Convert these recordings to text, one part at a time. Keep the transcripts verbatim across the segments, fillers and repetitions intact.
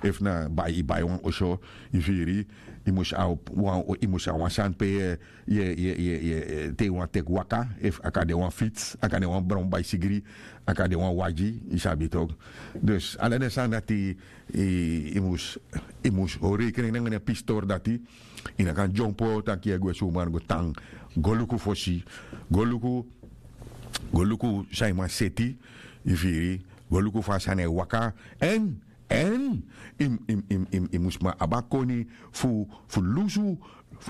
Efu na bai yu bai wan oso, yu firi, yu mus abi wan yu mus abi wan sani pe yu e yu e yu e yu e te yu wani teki waka, efu a kan de wan fitsi, a kan de wan bron baisigri, a kan de wan wagi, yu sabi toki. Dus ala den sani dati yu mus yu mus hori rekening nanga den pistori dati. Yu no kan dyompo taki yu e gwe sumari go tan. Go luku fosi, go luku go luku san yu man seti, yu firi, go luku fa a sani e waka. Èn èn yu mus man abi a koni fu fu lusu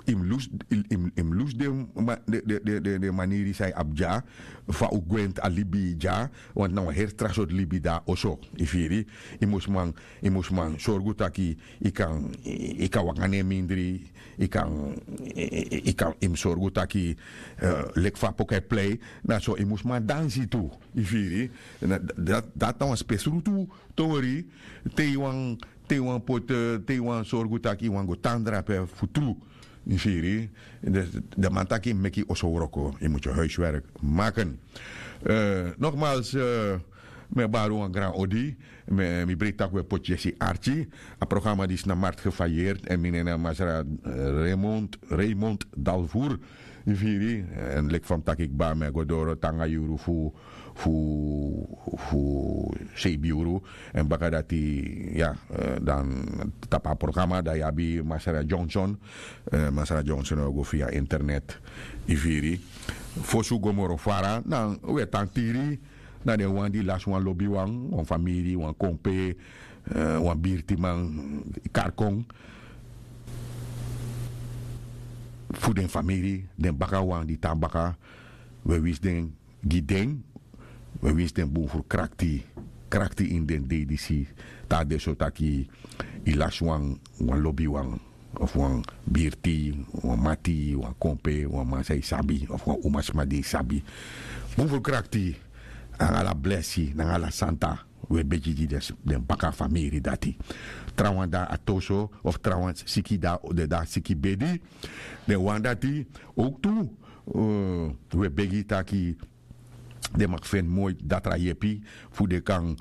yu mus lusu yu mus lusu den maniri san yu abi dya, fa un gwenti a libi dya. Wantu na wan heri tra sortu libi de na oso, yu firi. Yu mus man yu mus man sorgu taki yu kan yu kan waka na en mindri, yu kan yu kan yu mus sorgu taki leki fa a poku e plei. Na so yu mus man dansi tu, yu firi. Dati na wan spesrutu tori. Te yu wan te yu wan poti te yu wan sorgu taki yu wan go tan drape fu tru, yu firi. Den man taki yu mus meki yu oso wroko, yu mus yu huiswerk maken. Nogmals, mi e bari wan gran odi. Mi breiti tak' un e poti yesi arki. A programa disi na marti gefayeri èn mi nen na masra raymond raymond dalvour, yu firi. Èn leki fa mi taki kba mi e go doro te nanga yuru fu fu fu seibi yuru. Èn baka dati ya dan tapu a programa dan yu abi masra johnson. Masra johnson o go fia internet, yu firi. Fosi un go moro fara dan un e tan tiri na den wan di lasi wan lobiwan, wan famiri, wan kompe, wan birtiman, karkon fu den famiri, den bakawan di tan baka. Un e winsi den gi den. Un e winsi den bun furu krakti krakti ini den dei disi. Te a de so taki yu lasi wan lobiwan of wan birti, wan mati, wan kompe, wan man san yu sabi of wan umasma di yu sabi. Bun furu krakti nanga ala blesi nanga ala santa. Un e begi gi den baka famiri dati. Trawan de na atoso of trawan siki de na siki bedi. Den wan dati owktu un e begi taki den maki feni moi datra yepi fu den kan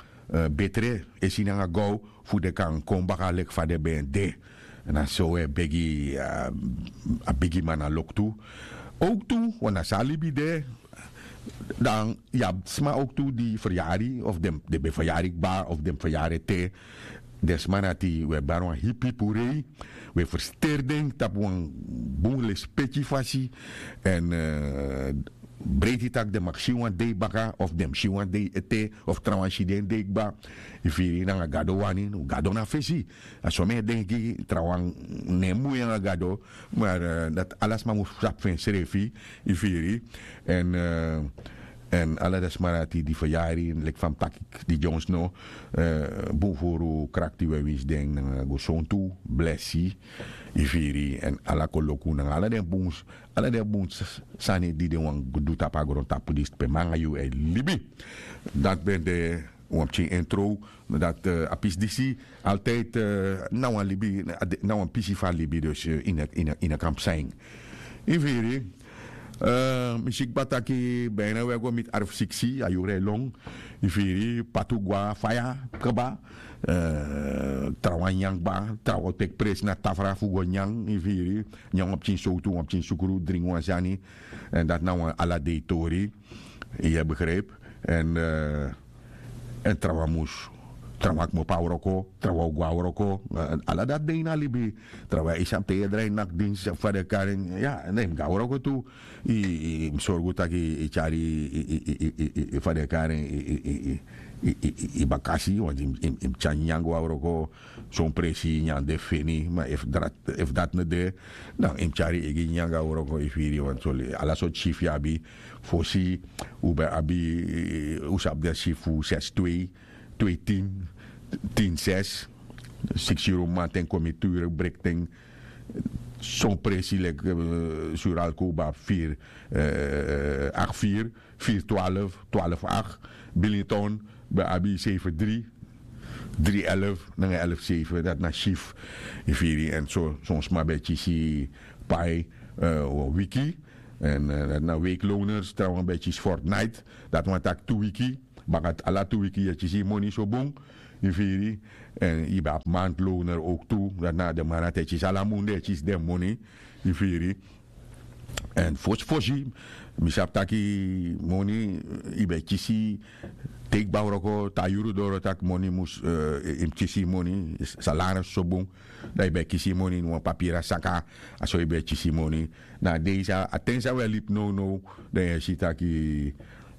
betre e si nanga gow fu den kan kon baka leki fa den ben de. Na so un e begi a bigiman na loktu. Owktu wan na so a libi de. Dan yu abi sma owktu di feryari of den ben feryari kba of den feryari ete. Den sma dati un e bari wan hipi hipi rei. Un e fersteri den tapu wan bun lespeki fasi. Èn breiti tak' den maki si wan dei baka of den mus si wan dei ete of trawan si den dei kba. Yu firi nanga gado wani gado na fesi. A so mi e denki trawan no e mui nanga gado. Mari dati ala sma mus sabi fu ensrefi. Yu firi. Èn èn ala den sma dati di feryari leki fa mi taki di dyonsno. Bun furu krakti un e winsi den nanga gesontu blesi. Yu firi èn ala koloku nanga ala den bun ala den bun sani di den wani du tapu a grontapu disi pe mi nanga yu e libi. Dati ben de wan pikin intro. Dati a pisi disi altijdi na wan libi na wan pisi fu a libi dus ini a kampu san yu firi. Mi si kba taki bina un e go miti arfu siksi a yuru e lon. Yu firi patu gwa faya kba. Trawan nyan kba trawan o teki presi na tafra fu go nyan yu firi. Nyan wan pikin sowtu wan pikin sukru dringi wan sani. Èn dati na wan ala dei tori. Yu e begripi. Èn èn trawan mus trawan kmopo na wroko trawan o go na wroko. Ala dati de ini a libi. Trawan e sabi te yu e drai naki dinsi fa den kari en ya den mus go na wroko tu. Yu mus sorgu tak' yu tyari yu fa den kari en yu bakasi wanti yu mus tyari nyan go na wroko. Son presi nyan de feni ma efu dati no de dan yu mus tyari yu eigi nyan go na wroko yu firi wanti soli ala sortu syifi yu abi. Fosi un ben abi un sabi den syifi fu sesi twei twei tin tin sesi siksi yuru mamanten kon mi turu brekten. Son presi leki suralku un ben abi firi akti firi firi twalfu twalfu akti. Biliton ben abi seifi dri dri elfu nanga elfu seifi dati na syifi. Yu firi èn so son sma ben kisi pai wan wiki. Èn dati na weiki loners trawan ben kisi fortnite. Dati wani taki tu wiki baka ala tu wiki yu e kisi yu moni so bun. Yu firi. Èn yu ben abi mantloner owk tu. Dati na den man dati e kisi ala mun den e kisi den moni. Yu firi? Èn fosi fosi mi sabi taki moni yu ben e kisi te yu kba wroko te a yuru doro tak' moni mus yu mus kisi yu moni. Salaris so bun. Dan yu ben e kisi yu moni ini wan papiri a saka. A so yu ben e kisi yu moni. Na a dei san a ten san wi e libi nownow dan yu e si taki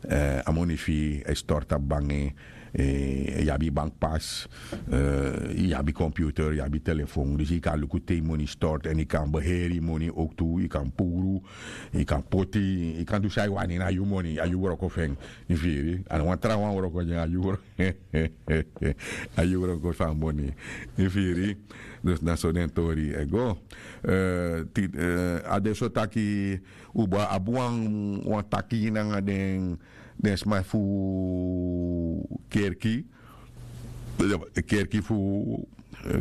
a moni fu yu e stortu a bangi. Yu abi yu bank pas. Yu abi computer yu abi telefon dus yu kan luku te yu moni stortu èn yu kan beheri yu moni owk tu yu kan puru. Yu kan poti yu kan du san yu wani na yu moni a yu wroko fu en. Yu firi a no wan trawan wroko gi en a yu wroko a yu wroko fu a moni. Yu firi? Dus na so den tori e go. A de so taki un bo abi wan taki nanga den den sma fu kerki. Kerki fu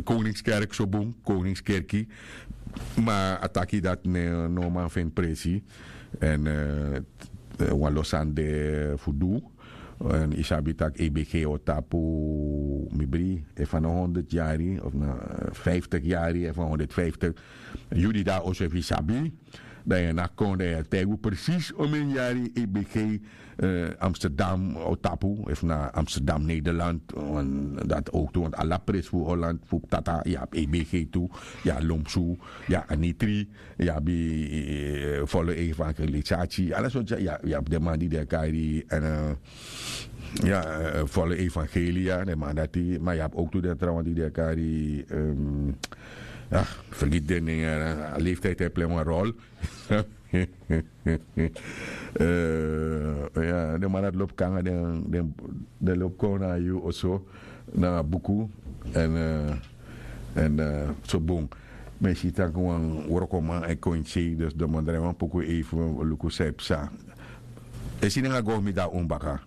koningskerk so bun koningskerki. Ma a taki dati no man feni presi. Èn wan lo sani de fu du. Èn yu sabi tak' ebg o tapu mi bri efu a no honderd yari of na vijftig yari efu a honderd vijftig. Yu di de a oso efu yu sabi dan yu e naki kon dan yu e taigi un presis omeni yari ebg amsterdam o tapu efu na amsterdam nederland. Dati owk tu want ala presi fu holland fu tata yu abi ebg tu. Yu abi lomsu yu abi anitri yu abi volo evangelisati ala sortu yu abi den man di den e kari èn ya volo evangelia den man dati ma yu abi owk tu den trawan di den e kari. Fergiti den nen a leeftiyd e plei wan rol. Ya den man dati lobi kon nanga den den lobi kon nanga yu oso nanga buku. Èn èn so bun. Mi e si tak' wan wrokoman e kon ini sei dus den man drai wan poku ei fu luku san e psa. E si nanga go mi de na un baka.